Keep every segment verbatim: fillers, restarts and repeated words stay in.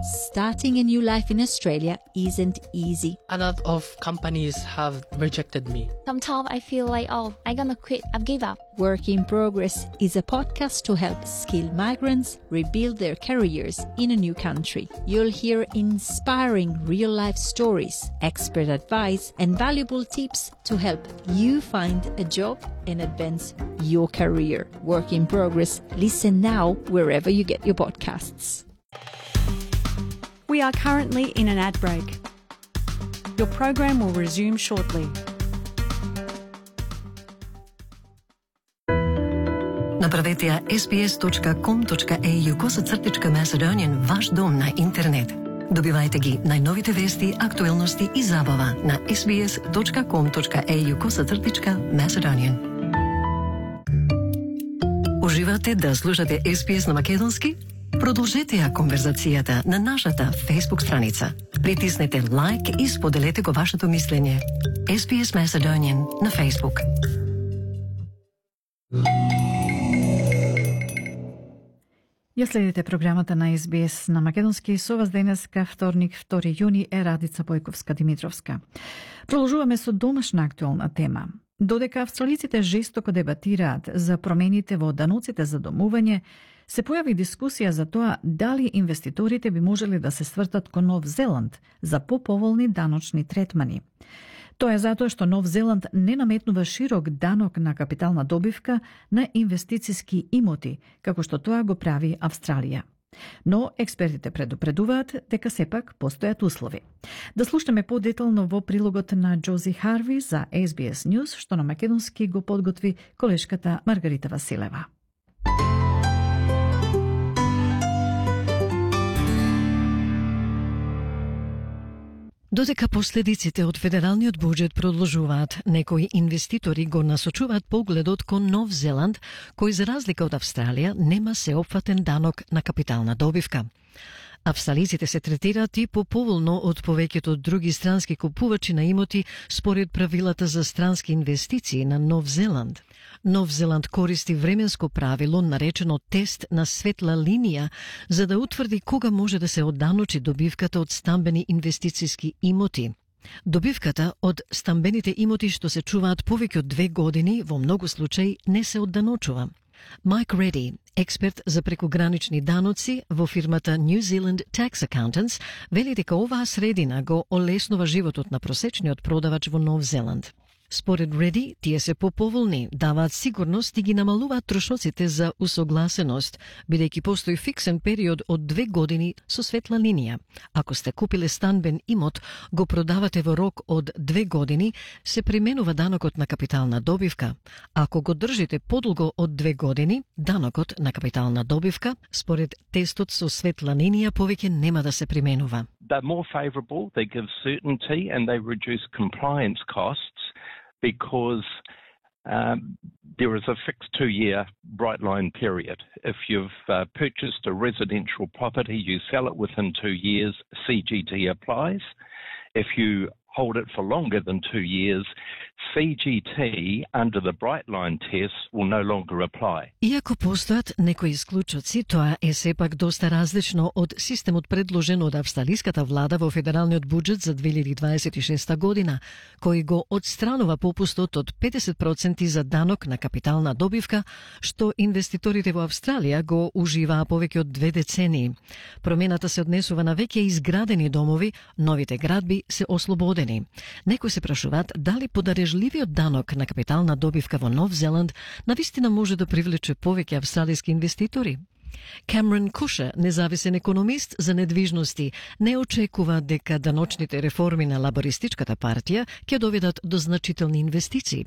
Starting a new life in Australia isn't easy. A lot of companies have rejected me. Sometimes I feel like, oh, I'm gonna quit, I've give up. Work in Progress is a podcast to help skilled migrants rebuild their careers in a new country. You'll hear inspiring real-life stories, expert advice, and valuable tips to help you find a job and advance your career. Work in Progress. Listen now wherever you get your podcasts. We are currently in an ad break. Your program will resume shortly. Направете ја ес би ес точка ком точка ей ю косацртичка Macedonian ваш дом на интернет. Добивајте ги најновите вести, актуелности и забава на ес би ес точка ком точка ей ю косацртичка Macedonian. Уживате да слушате ес би ес на македонски? Продолжете ја конверзацијата на нашата Facebook страница. Притиснете лайк и споделете го вашето мислење. ес би ес Macedonian на Facebook. Ја следите програмата на ес би ес на македонски. Со вас денеска, вторник, втори јуни, е Радица Бојковска-Димитровска. Продолжуваме со домашна актуелна тема. Додека австралиците жестоко дебатираат за промените во даноците за домување, се појави дискусија за тоа дали инвеститорите би можеле да се свртат кон Нов Зеланд за поповолни даночни третмани. Тоа е затоа што Нов Зеланд не наметнува широк данок на капитална добивка на инвестициски имоти, како што тоа го прави Австралија. Но експертите предупредуваат дека сепак постојат услови. Да слушаме подетално во прилогот на Джози Харви за ес би ес News, што на македонски го подготви колешката Маргарита Василева. Додека последиците од федералниот буџет продолжуваат, некои инвеститори го насочуваат погледот кон Нов Зеланд, кој за разлика од Австралија нема сеопфатен данок на капитална добивка. Австралиците се третираат и поповолно од повеќето други странски купувачи на имоти според правилата за странски инвестиции на Нов Зеланд. Нов Зеланд користи временско правило наречено тест на светла линија за да утврди кога може да се одданочи добивката од стамбени инвестициски имоти. Добивката од стамбените имоти што се чуваат повеќе од две години во многу случаи не се одданочува. Майк Реди, експерт за прекогранични даноци во фирмата New Zealand Tax Accountants, вели дека оваа средина го олеснува животот на просечниот продавач во Нов Зеланд. Според Реди, тие се поповолни, даваат сигурност и ги намалуваат трошоците за усогласеност, бидејќи постои фиксен период од две години со светла линија. Ако сте купиле станбен имот, го продавате во рок од две години, се применува данокот на капитална добивка. Ако го држите подолго од две години, данокот на капитална добивка, според тестот со светла линија, повеќе нема да се применува. They're more favorable, they give certainty and they reduce compliance costs. Because um, there is a fixed two-year bright line period. If you've uh, purchased a residential property, you sell it within two years, C G T applies. If you hold it for longer than two years, C G T under the bright line test will no longer apply. Иако постојат некои исклучоци, тоа е сепак доста различно од системот предложен од австралиската влада во федералниот буџет за две илјади дваесет и шеста година, кој го одстранува попустот од педесет проценти за данок на капитална добивка, што инвеститорите во Австралија го уживаа повеќе од две децении. Промената се однесува на веќе изградени домови, новите градби се ослободени. Некои се прашуваат дали подарежливиот данок на капитална добивка во Нов Зеланд навистина може да привлече повеќе австралиски инвеститори. Камерон Куша, независен економист за недвижности, не очекува дека даночните реформи на лабористичката партија ќе доведат до значителни инвестиции.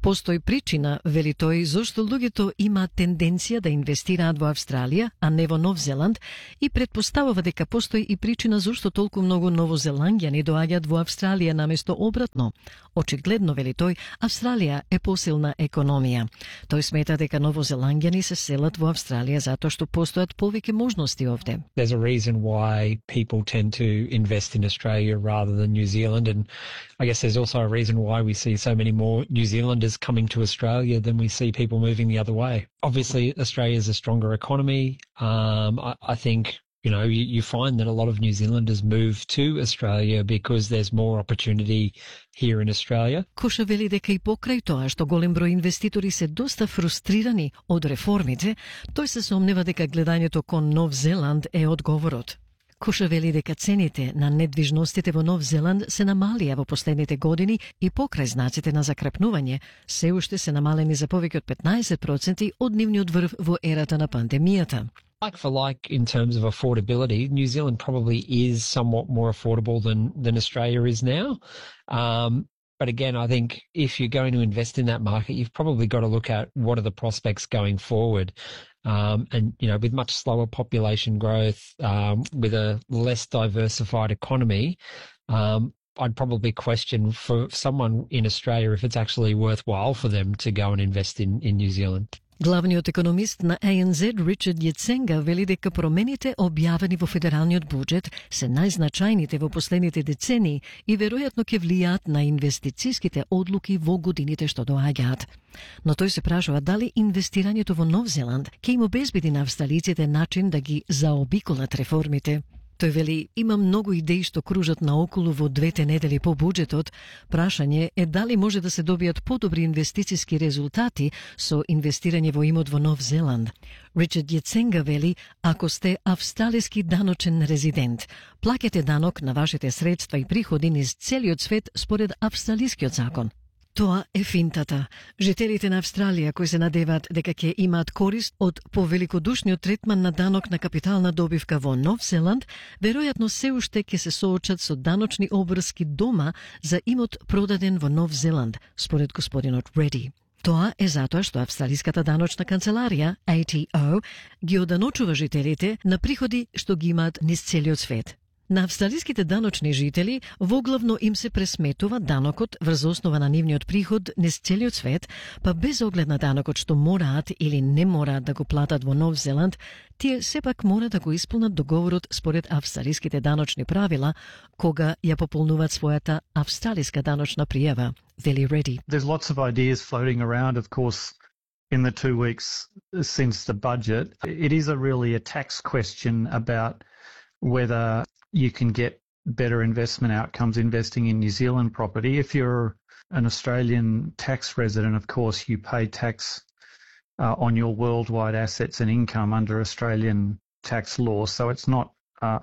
Постои причина, вели тој, зошто луѓето имаат тенденција да инвестираат во Австралија, а не во Нов Зеланд, и предпоставува дека постои и причина зошто толку многу новозеланѓани доаѓаат во Австралија наместо обратно. Очигледно, вели тој, Австралија е посилна економија. Тој смета дека новозеланѓани се селат во Австралија затоа што постојат повеќе можности овде. There's a reason why people tend to invest in Australia rather than New Zealand, and I guess there's also a reason why we see so many more New Zealanders coming to Australia than we see people moving the other way. Obviously, Australia is a stronger economy. Um, I, I think you know, you, you find that a lot of New Zealanders move to Australia because there's more opportunity here in Australia. Коша вели дека и покрај тоа што голем број инвеститори се доста фрустрирани од реформите, тој се сомнева дека гледањето кон Нов Зеланд е одговорот. Коша вели дека цените на недвижностите во Нов Зеланд се намалија во последните години и покрај знаците на закрепнување, се уште се намалени за повеќе од петнаесет проценти од нивниот врв во ерата на пандемијата. Like for like in terms of affordability, New Zealand probably is somewhat more affordable than, than Australia is now. Um, but again, I think if you're going to invest in that market, you've probably got to look at what are the prospects going forward. Um, and, you know, with much slower population growth, um, with a less diversified economy, um, I'd probably question for someone in Australia if it's actually worthwhile for them to go and invest in, in New Zealand. Главниот економист на А Ен Зед Ричард Јеценга вели дека промените објавени во федералниот буџет се најзначајните во последните децении и веројатно ќе влијаат на инвестициските одлуки во годините што доаѓаат. Но тој се прашува дали инвестирањето во Нов Зеланд ќе им обезбеди на австралиците начин да ги заобиколат реформите. Тој вели, има многу идеи што кружат наоколу во двете недели по буџетот. Прашање е дали може да се добијат подобри инвестициски резултати со инвестирање во имот во Нов Зеланд. Ричард Јеценга вели, ако сте австралиски даночен резидент, плаќате данок на вашите средства и приходи низ целиот свет според австралискиот закон. Тоа е финтата. Жителите на Австралија кои се надеваат дека ќе имаат корист од повеликодушниот третман на данок на капитална добивка во Нов Зеланд, веројатно се уште ќе се соочат со даночни обврски дома за имот продаден во Нов Зеланд, според господинот Реди. Тоа е затоа што австралиската даночна канцеларија, А T O, ги оданочува жителите на приходи што ги имаат низ целиот свет. На австралиските даночни жители воглавно им се пресметува данокот врз основа на нивниот приход низ целиот свет, па без оглед на данокот што мораат или не мораат да го платат во Нов Зеланд, тие сепак мора да го исполнат договорот според австралиските даночни правила кога ја пополнуваат својата австралиска даночна пријава. Вели Реди. There's lots of ideas floating around, of course, in the two weeks since the budget. It is a really a tax question about whether you can get better investment outcomes investing in New Zealand property. If you're an Australian tax resident, of course, you pay tax uh, on your worldwide assets and income under Australian tax law. So it's not uh,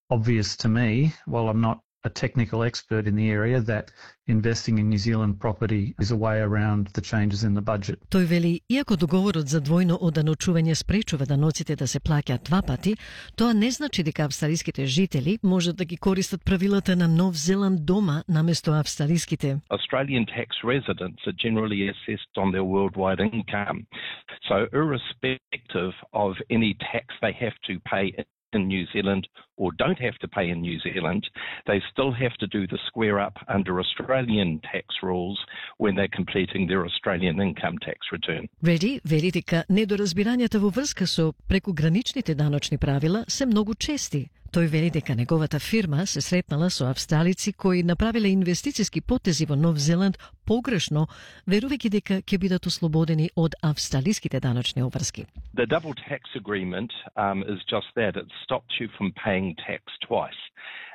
obvious to me, while I'm not a technical expert in the area, that investing in New Zealand property is a way around the changes in the budget. Тој вели, иако договорот за двојно оданочување спречува даноците да се плаќаат два пати, тоа не значи дека австралиските жители можат да ги користат правилата на Нов Зеланд дома наместо австралиските. Australian tax residents are generally assessed on their worldwide income. So irrespective of any tax they have to pay in New Zealand or don't have to pay in New Zealand, they still have to do the square up under Australian tax rules when they're completing their Australian income tax return. Реди вели дека недоразбирањата во врска со прекуграничните даночни правила се многу чести. Тој вели дека неговата фирма се сретнала со австралици кои направиле инвестициски потези во Нов Зеланд погрешно, верувајќи дека ќе бидат ослободени од австралиските даночни обврски. The double tax agreement um, is just that. It stops you from paying tax twice.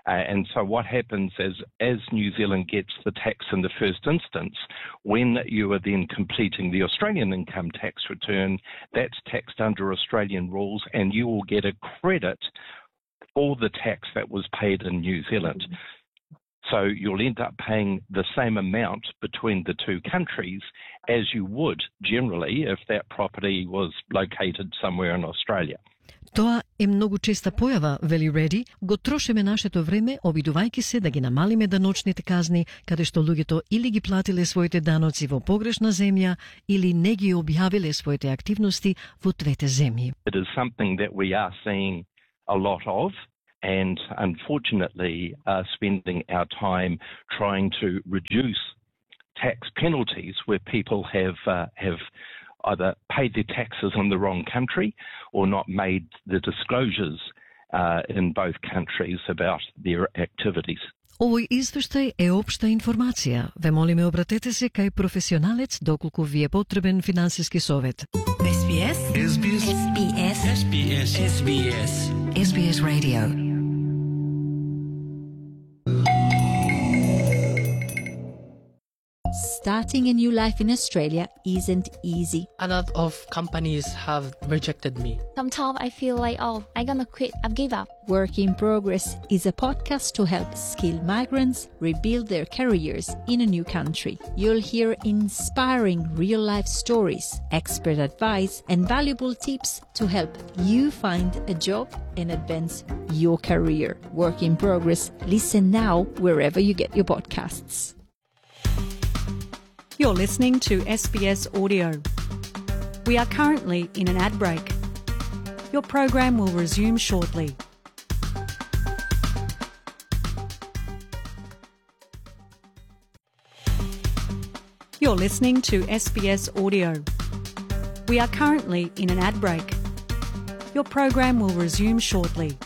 Uh, and so what happens is, as New Zealand gets the tax in the first instance, when you are then completing the Australian income tax return, that's taxed under Australian rules and you will get a credit for the tax that was paid in New Zealand. So you'll end up paying the same amount between the two countries as you would generally if that property was located somewhere in Australia. Тоа е многу честа појава, вели Реди, го трошиме нашето време обидувајќи се да ги намалиме даночните казни, каде што луѓето или ги платиле своите даноци во погрешна земја или не ги објавиле своите активности во двете земји. It is something that we are seeing a lot of, and unfortunately uh, spending our time trying to reduce tax penalties where people have uh, have either paid their taxes in the wrong country or not made the disclosures uh, in both countries about their activities. Овој извештај е општа информација. Ве молиме обратете се кај професионалец доколку ви е потребен финансиски совет. SBS SBS SBS SBS SBS SBS Radio. Starting a new life in Australia isn't easy. A lot of companies have rejected me. Sometimes I feel like, oh, I'm gonna quit. I've give up. Work in Progress is a podcast to help skilled migrants rebuild their careers in a new country. You'll hear inspiring real-life stories, expert advice, and valuable tips to help you find a job and advance your career. Work in Progress. Listen now wherever you get your podcasts. You're listening to S B S Audio. We are currently in an ad break. Your program will resume shortly. You're listening to S B S Audio. We are currently in an ad break. Your program will resume shortly.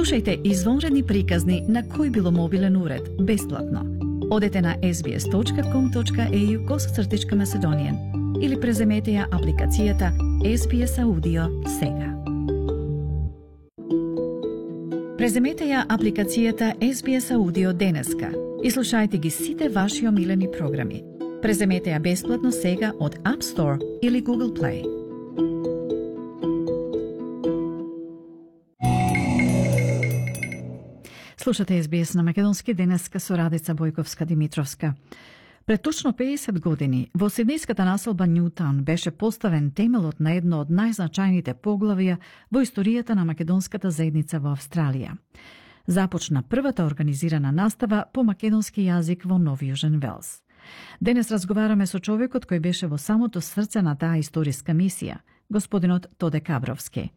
Слушајте извонредни приказни на кој било мобилен уред, бесплатно. Одете на ес би ес точка ком точка ей ю косацртичка Macedonian или преземете ја апликацијата Ес Би Ес Audio сега. Преземете ја апликацијата Ес Би Ес Audio денеска и слушајте ги сите ваши омилени програми. Преземете ја бесплатно сега од App Store или Google Play. Слушате Ес Би Ес на македонски денеска со Радица Бојковска-Димитровска. Пред точно педесет години во сиднејската населба Нјутаун беше поставен темелот на едно од најзначајните поглавја во историјата на македонската заедница во Австралија. Започна првата организирана настава по македонски јазик во Нов Јужен Велс. Денес разговараме со човекот кој беше во самото срце на таа историска мисија, господинот Тоде Кабровски.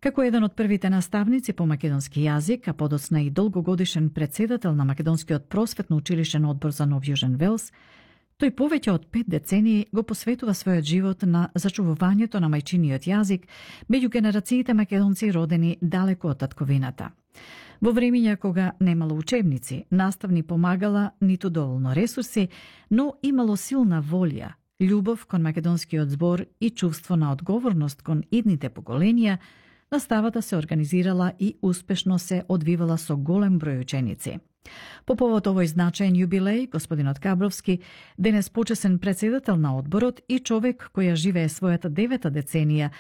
Како еден од првите наставници по македонски јазик, а подоцна и долгогодишен председател на Македонскиот просветно училишен одбор за Нов Јужен Велс, тој повеќе од пет децении го посветува својот живот на зачувувањето на мајчиниот јазик меѓу генерациите македонци родени далеко од татковината. Во времења кога немало учебници, наставни помагала ниту доволно ресурси, но имало силна волја, љубов кон македонскиот збор и чувство на одговорност кон идните поколенија, наставата се организирала и успешно се одвивала со голем број ученици. По повод овој значаен јубилеј, господинот Кабровски, денес почесен председател на одборот и човек која живее својата девета деценија,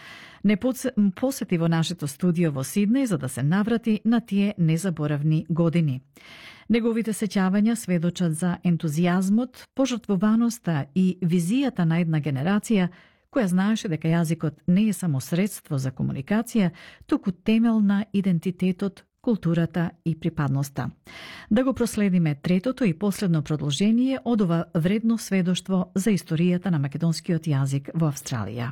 не посети во нашето студио во Сиднеј за да се наврати на тие незаборавни години. Неговите сеќавања сведочат за ентузијазмот, пожртвуваноста и визијата на една генерација која знаеше дека јазикот не е само средство за комуникација, туку темел на идентитетот, културата и припадноста. Да го проследиме третото и последно продолжение од ова вредно сведоштво за историјата на македонскиот јазик во Австралија.